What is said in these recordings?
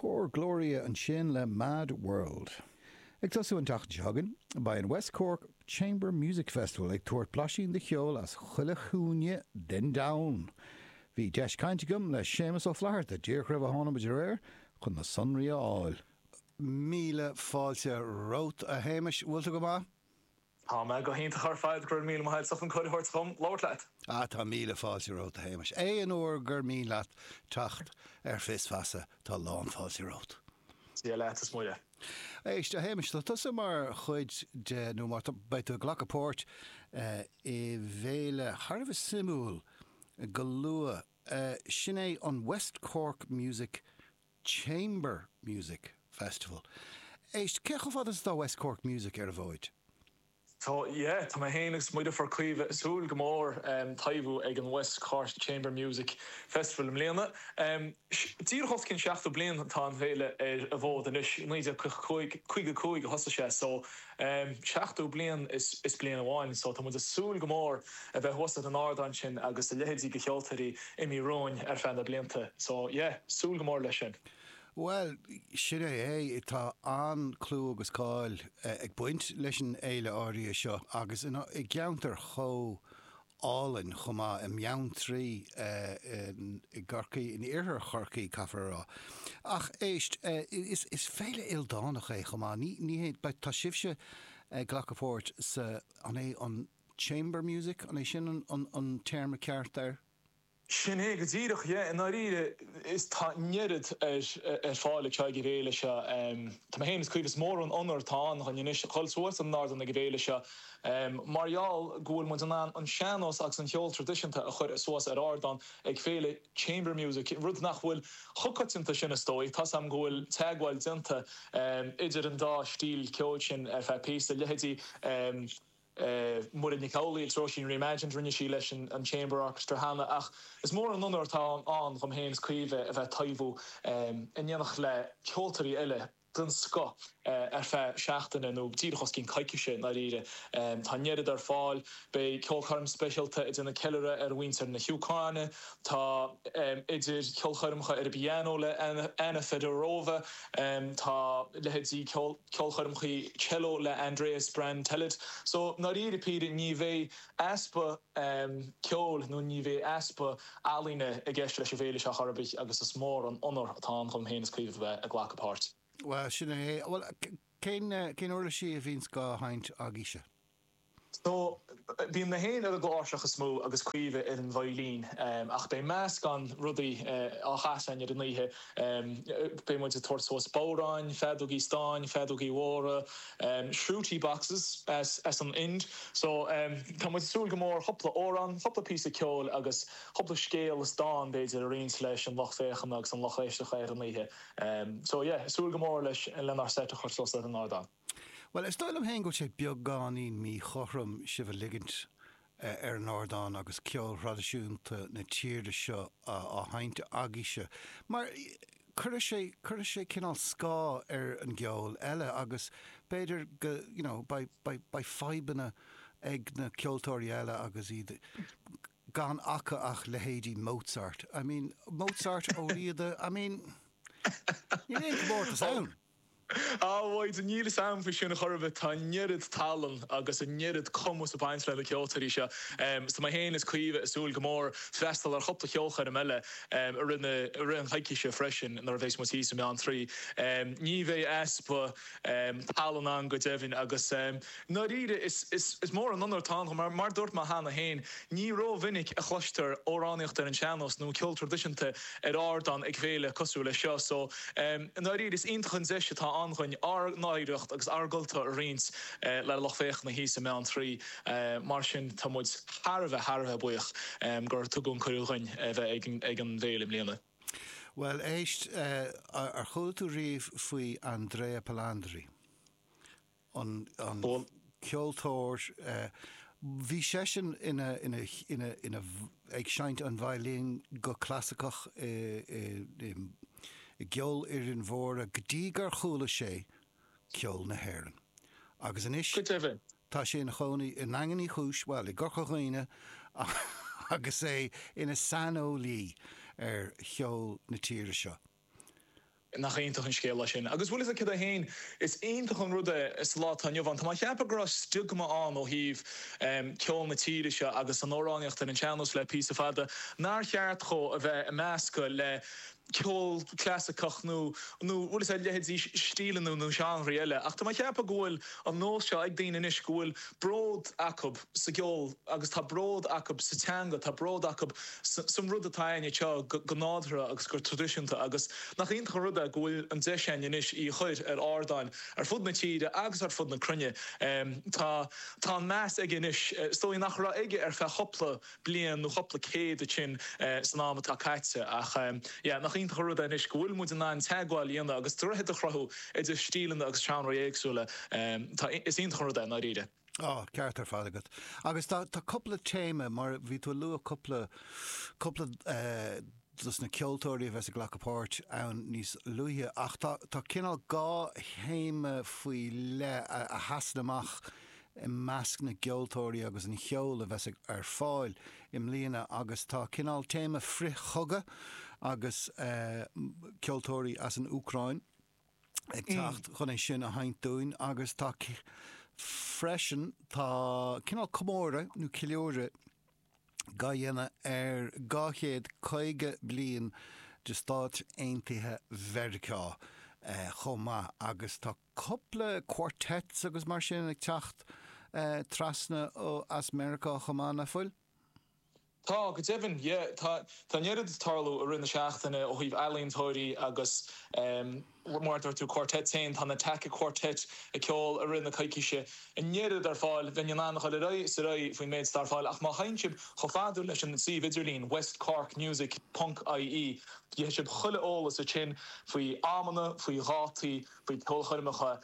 Cór Gloria ansin le Mad World. Ag tosú an tseachtain seo chugainn, beidh an West Cork Chamber Music Festival ag tabhairt blaisín de cheol as chuile chúinne den domhan. Bhí deis cainte agam le Séamus Ó Flatharta díreach roimh a tháinig muid ar aer chun na sonraí a fháil. Míle fáilte romhat, a Shéamais. Bhfuil tú go maith? Tá mé go hiontach ar fad, go raibh míle maith agat as an cuireadh a thabhairt dhom labhairt leat. Ah, tá míle fáilte romhat, a Shéamais. Aon uair gur mian leat teacht ar Fios Feasa, tá lán fáilte romhat. Dia leat is Muire. Éist, a Shéamais, tá tusa mar chuid de, nó mar, beidh tú ag glacadh páirt i bhféile thar a bheith suimiúil go luath. Sin é an West Cork Music Chamber Music Festival. Éist, cé chomh fada is atá West Cork Music ar an bhfóid? Tá, yeah, tá mé féin agus mo dheirfiúr Caoimhe ag súil go mór taibhiú ag an West Cork Chamber Music Festival i mbliana. Díreach os cionn 70 bliain atá an fhéile ar an bhfód anois, 1955 a thosaigh sé so 70 bliain is bliain amháin so tá muid ag súil go mór a bheith thuas ar an ardán sin agus a leithéidí de cheoltóirí imithe romhainn ar feadh na blianta so yeah, súil go mór leis sin. Bhuel, sin é é, tá an-clú agus cáil ag baint leis an fhéile áirithe seo agus i gceantar chomh álainn chomh maith, i mBeanntraí i gCorcaigh, in iarthar Chorcaí, caithfear a rá. Ach éist, is féile ildánach é chomh maith, ní hé, tá sibhse ag glacadh páirt sa, an é an chamber music, an é sin an téarma ceart air? Sin é go díreach, yeah, i ndáiríre is tá an oiread ar ar fáil ag an bhféile seo. Tá mé féin is Caoimhe, is mór an onóir atá ann dhúinn anois a dhul suas ar an ardán ag an bhféile seo mar gheall go bhfuil muid in ann an sean-nós agus an cheol traidisiúnta a chur suas ar ardán ag féile chamber music, rud nach bhfuil chomh coitianta sin is dóigh. Tá's a'm go bhfuil teagmháil déanta idir an dá stíl ceoil sin ar feadh píosa, leithéidí Muireann Nic Amhlaoibh agus Róisín Reimagined, rinne sí leis an Chamber Orchestra cheana, ach is mór an onóir atá ann dhom féin is Caoimhe a bheith ag taibhiú in éineacht le ceoltóirí eile den scoth ar feadh seachtaine, nó díreach os cionn coicíse i ndáiríre. Tá an oiread ar fáil, beidh ceolchoirm speisialta ag déanamh ceiliúradh ar mhuintir na hÚcráine, tá idir cheolchoirmeacha ar an bpianó le Anna Fedorova, tá leithéidí ceol. ceolchoirmeacha cello le Andreas Brantelid. So, ndáiríre píre, ní bheidh easpa ceoil nó ní bheidh easpa ealaíne i gceist leis an bhféile seo chor ar bith agus is mór an onóir atá ann dhom féin is Caoimhe a bheith ag glacadh páirt. Bhuel, sin é. Bhuel, cén, cén uirlisí a bhíonns á seinnt agaibhse? So, bíonn mé féin ar an gcláirseach is mó agus Caoimhe ar an veidhlín, ach beidh meascán rudaí á chasadh againn ar an oíche. Beidh muid ag tabhairt suas bodhráin, feadógaí stáin, feadógaí mhóra, shruti boxes as an Ind. So, tá muid ag súil go mór cúpla amhrán, cúpla píosa ceoil agus cúpla scéal is dán b'fhéidir a roinnt leis an lucht féachana agus an lucht éisteachta ar an oíche. So, yeah, ag súil go mór leis lenár seit a chur suas ar an ardán. Bhuel, is dóigh liom féin go bhfuil sé beagáinín míchothrom sibh a ligint ar an ardán agus ceol thraidisiúnta na tíre seo á sheinnt agaibhse, mar cuirfidh sé, cuirfidh sé cineál scáth ar an gceol eile agus b'fhéidir go, you know, beidh, beidh, beidh fadhbanna ag na ceoltóirí eile agus iad gan acu ach leithéidí Mozart. I mean, Mozart, Ó Riada, I mean, níl aon chomórtas ann! Á, Mhaidhc, níl fhios a'm faoi sin a chor ar bith. Tá an oiread tallann agus an oiread cumas ag baint le na ceoltóirí seo. Tá mé féin is Caoimhe ag súil go mór freastal ar chúpla ceolchoirm eile i rith na, i rith an choicíse freisin nuair a bheas muid thíos i mBeanntraí. Ní bheidh easpa tallann ann go deimhin agus ndáiríre is, is, is mór an onóir atá ann mar, mar dúirt mé cheana féin, ní rómhinic a chloistear amhránaíocht ar an sean-nós nó ceol traidisiúnta ar ardán ag féile cosúil leis seo so i ndáiríre is iontach an deis atá ann dhuinn ár n-oidhreacht agus ár gcultúr a roinnt le lucht féachana thíos i mBeanntraí. Mar sin tá muid thar a bheith, thar a bheith buíoch gur tugadh an cuireadh dhuinn a bheith ag an bhféile i mbliana. Bhuel éist, ar chuala tú riamh faoi Andrea Palandri? an ceoltóir, bhí seisean ina, ina, ina, ina, ag seinnt an veidhlín go clasaiceach i, i, i gceolfhoirinn mhóra go dtí gur chuala sé ceol na hÉireann. Agus anois Go deimhin. tá sé ina chónaí i nDaingean Uí Chúis, bhuel, i gCorca Dhuibhne agus é ina saineolaí ar cheol na tíre seo. Nach iontach an scéal é sin. Agus bhfuil fhios agat céard é féin, is iontach an rud é sa lá atá inniu ann. Tá mé ag ceapadh go raibh stiogma ann ó thaobh ceol na tíre seo agus an amhránaíocht ar an sean-nós le píosa fada, nár cheart dhó a bheith ag meascadh le ceol clasaiceach nó, nó bhfuil fhios agat, leithéidí stíleanna nó seánraí eile. Ach tá mé ag ceapadh go bhfuil an nós seo ag daoine anois go bhfuil bród acu sa gceol agus tá bród acu sa teanga, tá bród acu san rud atá againn anseo go nádúrtha agus go traidisiúnta agus nach iontach an rud é go bhfuil an deis againn anois í a chur ar ardáin ar fud na tíre agus ar fud na cruinne. Tá tá an meas aige anois, is dóigh nach raibh aige ar feadh chúpla bliain nó chúpla céad ansin san am atá caite ach yeah nach iontach an rud é anois go bhfuil muid in ann teagmháil a dhéanamh agus droichead a chruthú idir stíleanna agus seánraí éagsúla. Tá, is iontach an rud é i ndáiríre. Á, ceart ar fad agat. Agus tá, tá cúpla téama, mar bhí tú ag lua cúpla, cúpla dos na ceoltóirí a bheas ag glacadh páirt ann níos luaithe, ach tá, tá cineál dhá théama faoi leith a, a sheasann amach i measc na gceoltóirí agus an cheoil a bheas ar fáil i mbliana agus tá cineál téama frith-chogadh agus ceoltóirí as an Úcráin ag teacht chun é sin a sheinnt dúinn agus tá freisin tá cineál comóradh nó ceiliúradh dhá dhéanamh ar 250 bliain de Stáit Aontaithe Mheiriceá chomh maith agus tá cúpla quartets agus mar sin ag teacht trasna as Meiriceá chomh maith, nach bhfuil? Tá, go deimhin, yeah. Tá, tá an oiread ag tarlú i rith na seachtaine ó thaobh ealaíontóirí agus mar a dúirt tú quartets féin, tá na Taca Quartet ag ceol i rith na coicíse. An oiread ar fáil, bheinn in ann a dhul ar aghaidh is ar aghaidh faoin méid atá ar fáil ach má théann sibh chomh fada leis an suíomh idirlín westcorkmusic ponc ie gheobhaidh sibh chuile eolas ansin faoi amanna, faoi dhátaí, faoi ceolchoirmeacha.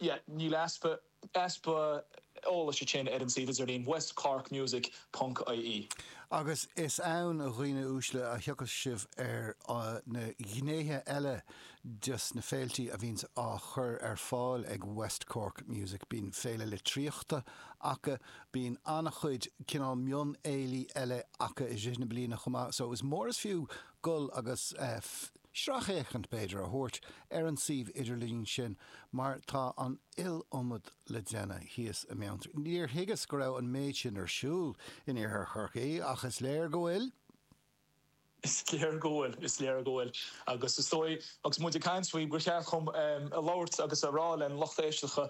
Yeah, níl easpa. Easpa eolais ansin ar an suíomh idirlín westcorkmusic ponc ie. Agus is ann, a dhaoine uaisle, a thiocfas sibh ar na gnéithe eile des na féiltí a bhíonns á chur ar fáil ag West Cork Music. Bíonn féile litríochta acu, bíonn an-chuid cineál mionfhéilí eile acu i rith na bliana chomh maith, so is mór is fiú dul agus sracfhéachaint, b'fhéidir, a thabhairt ar an suíomh idirlín sin mar tá an iliomad le déanamh thíos i mBeanntraí. Níor thuigeas go raibh an méid sin ar siúl in iarthar Chorcaí ach is léir go bhfuil. Is léir go bhfuil, is léir go bhfuil. Agus is dóigh, agus muid ag caint faoi, gur cheart dhom a labhairt agus a rá len lucht éisteachta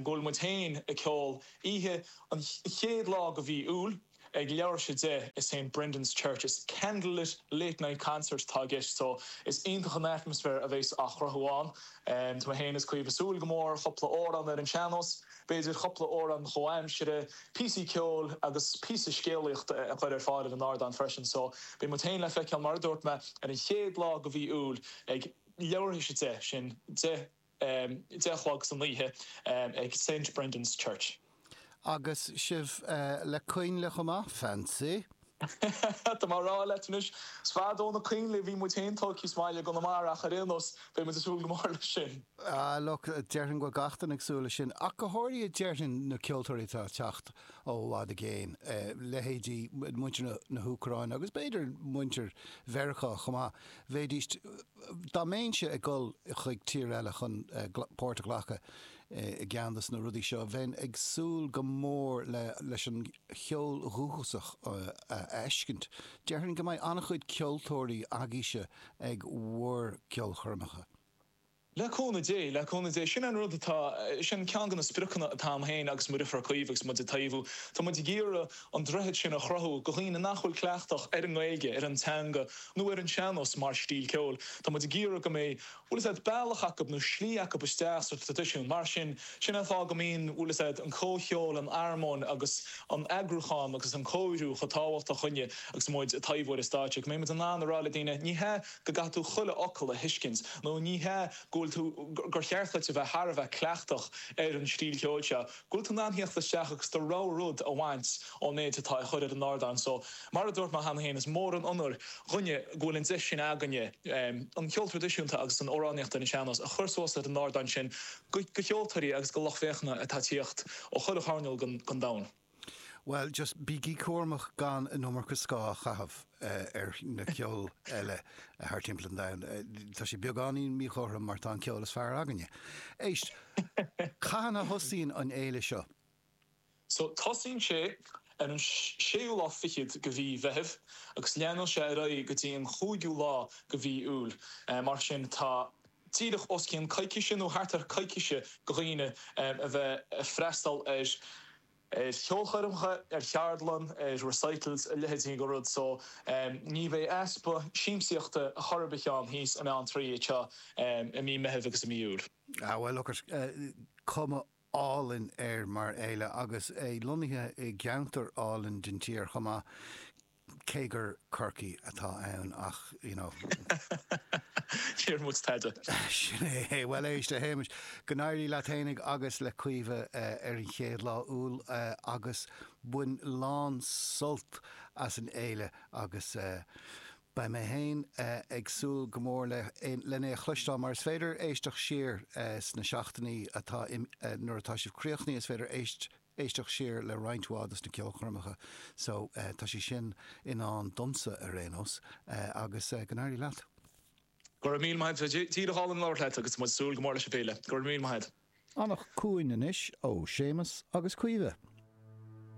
go bhfuil muid féin ag ceol oíche an chéad lá de mhí Iúil, Ag leathuair tar éis 10 i St Brendan's Church. Is candlelit late night concert atá i gceist so is iontach an atmaisféar a bheas á chruthú ann. Tá mé féin is Caoimhe ag súil go mór, cúpla amhrán ar an sean-nós, b'fhéidir cúpla amhrán chomhaimsire, píosaí ceoil agus píosa scéalaíochta a chur ar fáil ar an ardán freisin. So beidh muid féin le feiceáil mar a dúirt mé ar an chéad lá de mhí Iúil ag leathuair tar éis 10, sin 10. 10 a chlog san oíche ag St Brendan's Church. Agus sibh le coinnle chomh maith, fancy! Tá mé a rá leat anois, is fada ó na coinnle a bhí muid féin tógtha sa mbaile i gConamara ach ar aon nós, beidh muid ag súil go mór leis sin. Ah look, déarfainn go bhfuil gach duine ag súil leis sin, ach go háirithe déarfainn na ceoltóirí atá ag teacht ó i bhfad i gcéin, leithéidí muintir na hÚcráine agus b'fhéidir muintir Mheiriceá chomh maith. Bheidís, dá mbeinnse ag dul chuig tír eile chun páirt a ghlacadh i gceann de na rudaí seo, bheinn ag súil go mór le leis an cheol dhúchasach a fheiscint. Déarfainn go mbeidh an-chuid ceoltóirí agaibhse ag bhur gceolchoirmeacha. Le cúnamh Dé, le cúnamh Dé. Sin an rud atá, sin ceann de na spriocanna atá agam féin agus mo dheirfiúr Caoimhe agus muid ag taobhú. Tá muid ag iarraidh an droichead sin a chruthú do dhaoine nach bhfuil cleachtach ar an nGaeilge, ar an teanga nó ar an sean-nós mar stíl ceoil. Tá muid ag iarraidh go mbeidh, bhfuil fhios a'd, bealach acu nó slí acu isteach sa traidisiún. Mar sin, sin an fáth go mbíonn, bhfuil fhios a'd, an comhcheol, an armóin agus an eagrúchán agus an cóiriú chomh tábhachtach dhúinne agus muid ag taobhú ar an stáitse, go mbeidh muid in ann a rá le daoine, ní hea go gcaithfidh tú chuile fhocal a thuiscint, nó ní hea go bhfuil tú, gur cheart duit a bheith thar a bheith cleachtach ar an stíl cheoil seo, go bhfuil tú in ann theacht isteach agus do rogha rud a bhaint ón méid atá á chur ar an ardán. So, mar a dúirt mé cheana féin, is mór an onóir dhúinne go bhfuil an deis sin againne an ceol traidisiúnta agus an amhránaíocht ar an sean-nós a chur suas ar an ardán sin go cheoltóirí agus go lucht féachana atá ag tíocht ó chuile choirneál den domhan. Bhuel, just bígí cúramach gan an iomarca scáth a chaitheamh ar na ceol eile thar timpeall an domhain. Tá sé beagáinín míchothrom mar tá an ceol is fearr againne. Éist, cathain a thosaíonn an fhéile seo? So, tosaíonn sé ar an séú lá fichead de mhí Mheithimh agus leanann sé ar aghaidh go dtí an chúigiú lá de mhí Iúil. Mar sin, tá díreach os cionn coicíse nó thart ar coicíse do dhaoine a bheith ag freastal ar ar cheolchoirmeacha, ar cheardlann, ar recitals, a leithéidí de rud. So, ní bheidh easpa siamsaíochta chor ar bith ann thíos i mBeanntraí anseo i mí Meithimh agus i mí Iúil. Ah bhuel, look at, cuma álainn air mar fhéile agus é lonnaithe i gceantar álainn den tír chomh maith, cé gur Corcaigh atá ann ach, you know. Níor muid tada. Sin é. Bhuel éist, a Shéamais, go n-éirí leat fhéinig agus le Caoimhe ar an chéad lá Iúil agus bain lán sult as an fhéile agus Beidh mé féin ag súil go mór le len é a chloisteáil mar is féidir éisteacht siar sna seachtainí atá nuair atá sibh críochnaithe is féidir éisteacht siar le roinnt mhaith dos na ceolchoirmeacha so tá sé sin i ndán domsa ar aon nós agus go n-éirí leat. Go raibh míle maith agat, bhí sé díreach álainn labhairt leat agus muid ag súil go mór leis an bhféile. Go raibh míle maith agat. Fanacht ciúin anois ó Séamus agus Caoimhe.